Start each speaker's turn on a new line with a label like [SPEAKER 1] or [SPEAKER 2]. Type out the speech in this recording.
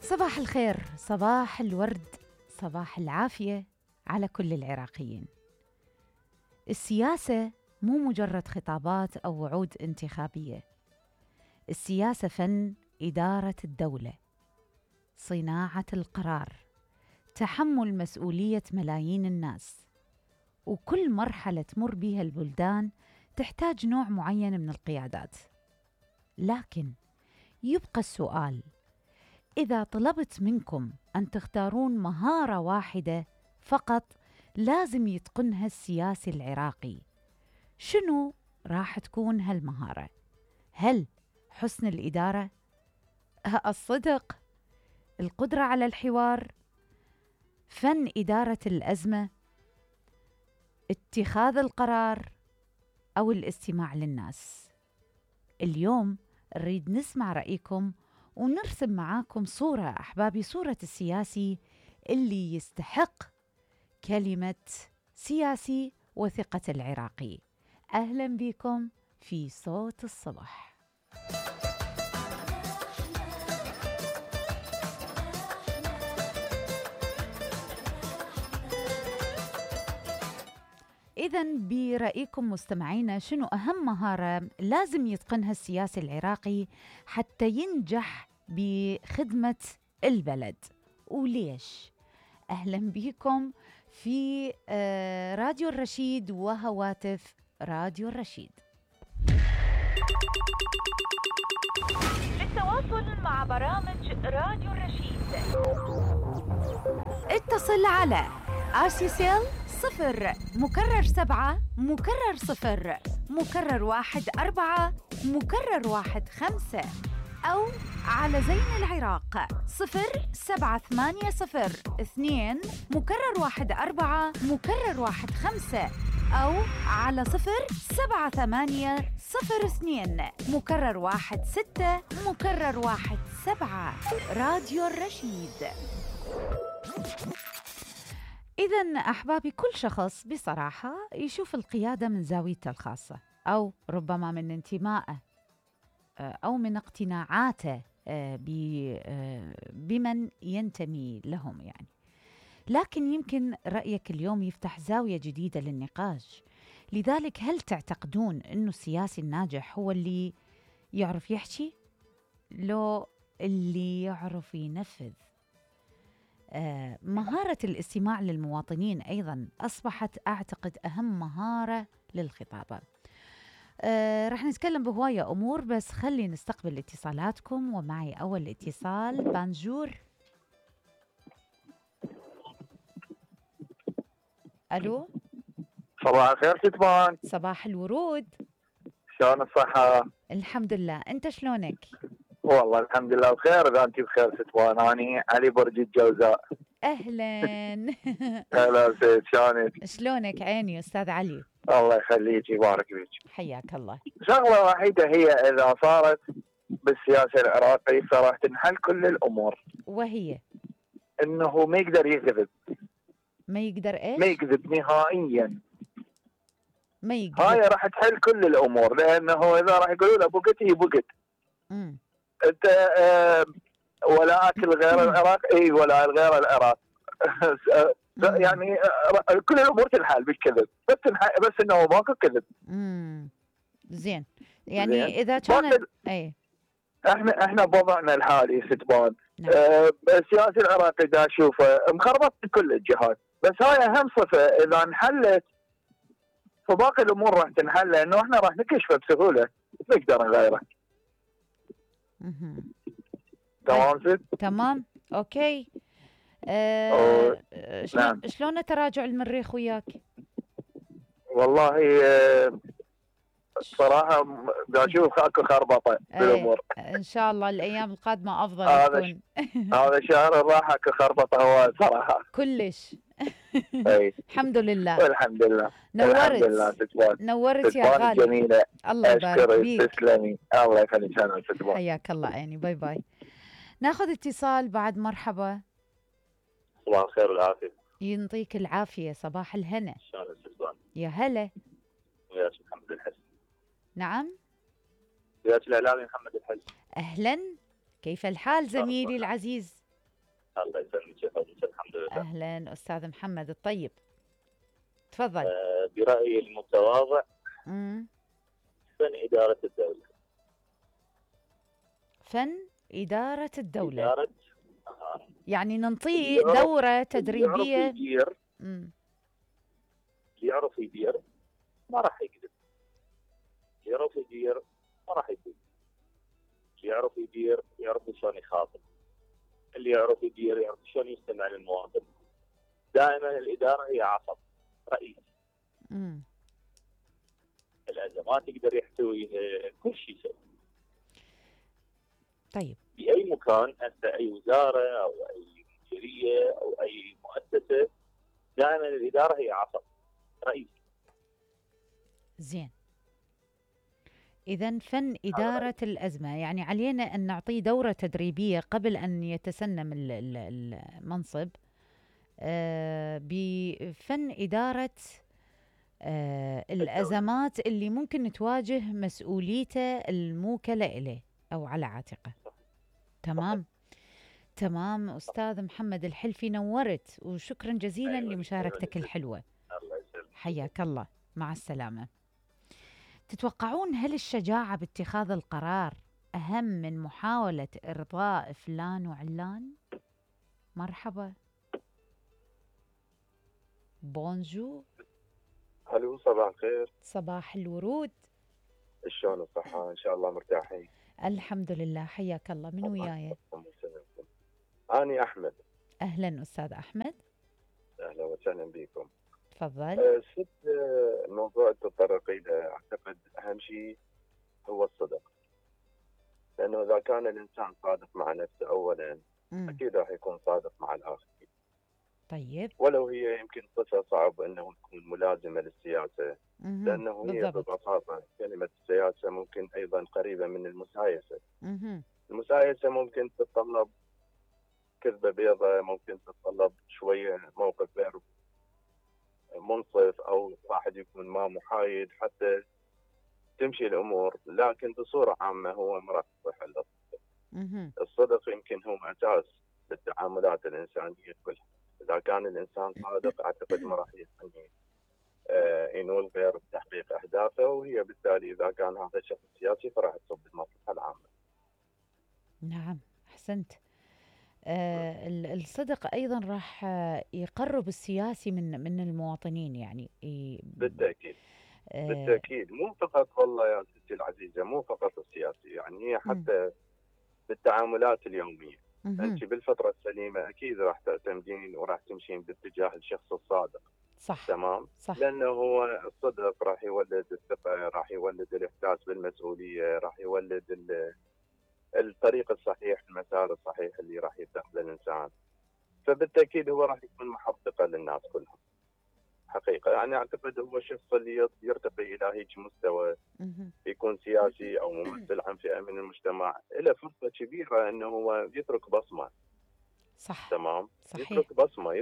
[SPEAKER 1] صباح الخير، صباح الورد، صباح العافية على كل العراقيين. السياسة مو مجرد خطابات أو وعود انتخابية. السياسة فن إدارة الدولة، صناعة القرار، تحمل مسؤولية ملايين الناس. وكل مرحلة تمر بها البلدان تحتاج نوع معين من القيادات. لكن يبقى السؤال: إذا طلبت منكم أن تختارون مهارة واحدة فقط لازم يتقنها السياسي العراقي، شنو راح تكون هالمهارة؟ هل حسن الإدارة؟ الصدق؟ القدرة على الحوار؟ فن إدارة الأزمة؟ اتخاذ القرار؟ أو الاستماع للناس؟ اليوم نريد نسمع رأيكم ونرسم معاكم صورة أحبابي، صورة السياسي اللي يستحق كلمة سياسي وثقة العراقي. أهلا بكم في صوت الصبح. إذن برأيكم مستمعينا، شنو أهم مهارة لازم يتقنها السياسي العراقي حتى ينجح بخدمة البلد وليش؟ أهلا بكم في راديو الرشيد وهواتف راديو الرشيد. للتواصل مع برامج راديو الرشيد اتصل على RCCL 0 مكرر 7 مكرر 0 مكرر 1 4 مكرر 1 5 أو على زين العراق 07802 مكرر 1 4 مكرر 1 5 أو على 07802 مكرر 1 6 مكرر 1 7. راديو الرشيد. إذن أحبابي، كل شخص بصراحة يشوف القيادة من زاويته الخاصة، أو ربما من انتمائه أو من اقتناعاته بمن ينتمي لهم يعني. لكن يمكن رأيك اليوم يفتح زاوية جديدة للنقاش. لذلك هل تعتقدون أنه السياسي الناجح هو اللي يعرف يحكي لو اللي يعرف ينفذ؟ مهارة الاستماع للمواطنين أيضا أصبحت أعتقد أهم مهارة للخطابة. رح نتكلم بهواية أمور، بس خلي نستقبل اتصالاتكم. ومعي أول اتصال. بانجور. ألو،
[SPEAKER 2] صباح الخير ستبان.
[SPEAKER 1] صباح الورود.
[SPEAKER 2] شلون الصحة؟
[SPEAKER 1] الحمد لله، أنت شلونك؟
[SPEAKER 2] والله الحمد لله بخير. إذا أنت بخير ستبان. أنا علي برج الجوزاء.
[SPEAKER 1] أهلا.
[SPEAKER 2] هلا سيد، شلونك؟
[SPEAKER 1] شلونك عيني أستاذ علي؟
[SPEAKER 2] الله يخليك يبارك فيك.
[SPEAKER 1] حياك الله.
[SPEAKER 2] شغلة وحيدة هي إذا صارت بالسياسة العراقية فراح تنحل كل الأمور،
[SPEAKER 1] وهي
[SPEAKER 2] إنه ما يقدر يكذب.
[SPEAKER 1] ما يقدر إيش؟
[SPEAKER 2] ما يكذب نهائيا.
[SPEAKER 1] ما يقدر.
[SPEAKER 2] هاي راح تحل كل الأمور، لأنه إذا راح يقولوا له بقت هي بقت. أنت ولا أكل غير العراق، إي ولا غير العراق. يعني كل الأمور تنحل بالكذب، بس إنه ماكو كذب.
[SPEAKER 1] زين. يعني
[SPEAKER 2] زين.
[SPEAKER 1] إذا كان أي
[SPEAKER 2] احنا بوضعنا الحالي ستبان.
[SPEAKER 1] نعم.
[SPEAKER 2] السياسي العراقي دا اشوفه مخربط في كل الجهات، بس هاي اهم صفه اذا انحلت فباقي الامور راح تنحل، لانه احنا راح نكشفه بسهوله نقدر نغيره. تمام ست؟
[SPEAKER 1] تمام اوكي.
[SPEAKER 2] نعم.
[SPEAKER 1] شلون تراجع المريخ وياك؟
[SPEAKER 2] والله صراحة دا أشوف أكو خربطة بالأمور.
[SPEAKER 1] إن شاء الله الأيام القادمة أفضل تكون.
[SPEAKER 2] هذا شهر الراحة أكو خربطة هو صراحة.
[SPEAKER 1] كلش. الحمد لله.
[SPEAKER 2] والحمد لله.
[SPEAKER 1] نورت.
[SPEAKER 2] الحمد لله ستبان.
[SPEAKER 1] نورت يا غالي.
[SPEAKER 2] جميلة.
[SPEAKER 1] الله يبارك فيك.
[SPEAKER 2] تسلمي. الله يخليك. أنا ستبان.
[SPEAKER 1] حياك الله عيني. باي باي. ناخذ اتصال بعد. مرحبا.
[SPEAKER 3] صباح الخير والعافية.
[SPEAKER 1] ينطيك العافية. صباح الهنا.
[SPEAKER 3] شلون ستبان؟
[SPEAKER 1] يا هلا.
[SPEAKER 3] وياك محمد الحسن.
[SPEAKER 1] نعم.
[SPEAKER 3] وياك الإعلامي محمد الحسن.
[SPEAKER 1] أهلا، كيف الحال زميلي العزيز؟
[SPEAKER 3] الله يسلمك يا فندم، الحمد لله.
[SPEAKER 1] أهلا أستاذ محمد الطيب، تفضل.
[SPEAKER 3] برأيي المتواضع
[SPEAKER 1] مم.
[SPEAKER 3] فن إدارة الدولة.
[SPEAKER 1] فن إدارة الدولة.
[SPEAKER 3] إدارة
[SPEAKER 1] يعني ننطيه
[SPEAKER 3] اللي يعرف-
[SPEAKER 1] دورة
[SPEAKER 3] اللي
[SPEAKER 1] تدريبية.
[SPEAKER 3] اللي يعرف يدير ما راح يكذب، اللي يعرف يدير ما راح يكذب، اللي يعرف يدير يعرف شلون يخاطب، اللي يعرف يدير يعرف شلون يستمع للمواطن. دائما الإدارة هي عصب رئيس. الأزمات يقدر يحتويها، كل شيء يسوي.
[SPEAKER 1] طيب
[SPEAKER 3] بأي مكان، هسه أي وزارة أو أي مديرية أو أي مؤسسة، دائما الإدارة هي عصب رئيس.
[SPEAKER 1] زين، إذن فن إدارة الأزمة يعني علينا أن نعطيه دورة تدريبية قبل أن يتسنم المنصب بفن إدارة الأزمات اللي ممكن تواجه مسؤوليته الموكلة إليه أو على عاتقه. تمام تمام أستاذ محمد الحلفي، نورت، وشكرا جزيلا لمشاركتك الحلوة.
[SPEAKER 3] الله يسلمك.
[SPEAKER 1] حياك الله، مع السلامة. تتوقعون هل الشجاعة باتخاذ القرار أهم من محاولة إرضاء فلان وعلان؟ مرحبا. بونجور.
[SPEAKER 4] الو، صباح الخير.
[SPEAKER 1] صباح الورود.
[SPEAKER 4] شلون الصحة؟ ان شاء الله مرتاحين.
[SPEAKER 1] الحمد لله، حياك الله. من وياي؟
[SPEAKER 4] أنا أحمد.
[SPEAKER 1] أهلا أستاذ أحمد.
[SPEAKER 4] أهلا وسهلا بكم.
[SPEAKER 1] تفضل.
[SPEAKER 4] الموضوع تطرق إلى، أعتقد أهم شيء هو الصدق، لأنه إذا كان الإنسان صادق مع نفسه أولا أكيد راح يكون صادق مع الآخرين.
[SPEAKER 1] طيب.
[SPEAKER 4] ولو هي يمكن صفة صعب أنه تكون ملازمة للسياسة، لأنه هي ببساطة كلمة السياسة ممكن أيضا قريبة من المسايسة. المسايسة ممكن تتطلب كذبة بيضة، ممكن تتطلب شوية موقف غير منصف، أو واحد يكون ما محايد حتى تمشي الأمور، لكن بصورة عامة هو ما راح تصح إلا الصدق. الصدق يمكن هو أساس للتعاملات الإنسانية كلها. إذا كان الإنسان صادق أعتقد ما راح يعني ينول غير بتحقيق أهدافه، وهي بالتالي إذا كان هذا الشخص سياسي فراح تصب بالمصلحة العامة.
[SPEAKER 1] نعم، أحسنت. الصدق أيضا راح يقرب السياسي من المواطنين يعني.
[SPEAKER 4] بالتأكيد. بالتأكيد، مو فقط والله يا ستي العزيزة، مو فقط السياسي، يعني هي حتى بالتعاملات اليومية. أنت بالفترة السليمة أكيد راح تعتمدين وراح تمشين باتجاه الشخص الصادق.
[SPEAKER 1] صح.
[SPEAKER 4] تمام.
[SPEAKER 1] صح.
[SPEAKER 4] لأنه هو الصدق راح يولد الثقة، راح يولد الإحساس بالمسؤولية، راح يولد الطريق الصحيح، المسار الصحيح اللي راح يتخذه الإنسان. فبالتأكيد هو راح يكون محققة للناس كلهم حقيقة. يعني أعتقد هو الشخص اللي يرتقي إلى هيك مستوى، يكون سياسي أو ممثل عن فئة من المجتمع، له فرصة كبيرة أنه هو يترك بصمة.
[SPEAKER 1] صح.
[SPEAKER 4] تمام.
[SPEAKER 1] صحيح.
[SPEAKER 4] يترك بصمة